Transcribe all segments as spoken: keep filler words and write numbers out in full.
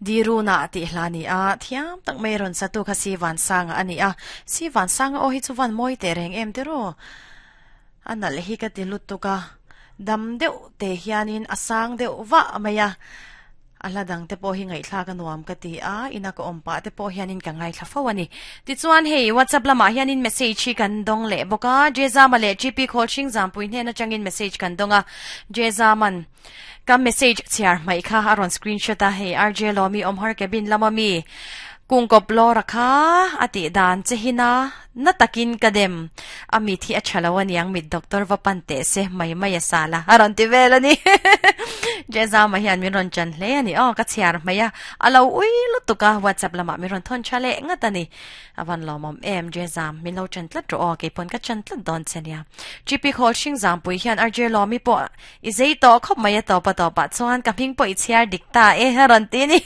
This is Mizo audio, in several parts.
Diruna ti hla ni a thiam tak mai ron satu kha si van sanga ani a si van sanga o hi chuan moi te reng em te ro anal hi ka ti lutuka dam deuh te hianin asang deuh wa maya ala dang te pawh hi ngai thla ka nuam ka ti a ina ka awm pa te pawh hianin ka ngai thla fo ani tichuan hei WhatsApp lamah hianin message hi kan dawng leh bawk a Jezama leh G P Khawlhring Zampui hnen atangin message kan dawng a Jezaman ka message chhiar hmai kha a rawn screenshot a hei R J Lomi awmhar cabin lama mi kungkop lora kha ati dan che hina na takin kadem ami thi a thalo aniang mit doctor va pan te se mai mai sala aron ti vel ani jeza ma hian min ron chan hle ani o ka chiar maya alo ui lutuka WhatsApp lama mi ron thon chale ngatani awan lomom em jeza min lo chan tlat ro o ke pon ka chan tlat don chenia G P khol shing jam pui hian R J lomi po i zei to khop mai to pa to pa chuan ka hming po i chiar dikta e haron ti ni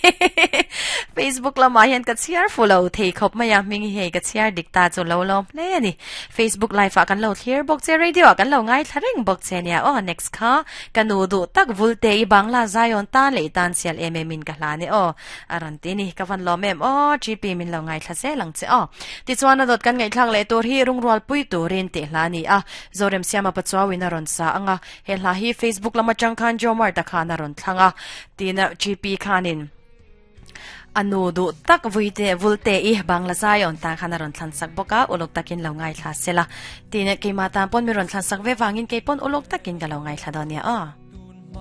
Facebook lama hian ka chiar fulo thei khop maya ming he ka chiar dikta chu lo lom hle ani Facebook live a kan lo thlir bok che radio kan lo ngai thlaring bok che nia o next kha kanu du tak vulte i bangla zion ta le tan sial em em in ka hla ni o aran ti ni ka van lom em o G P min lo ngai thla se lang che o ti chuan a dot kan ngai thlang le tur hi rungrual pui turin te hla ni a zorem siama pachawin a ron sa anga he hla hi Facebook lama changkhan jomar ta khana ron thlanga tina G P khanin anu du tak vuite vulte i bangla zion ta khana ron thlan sak boka ulok takin lo ngai thla sela tine keima ta pon mi ron thlan sak ve wangin ke pon ulok takin ka lo ngai thla donia a.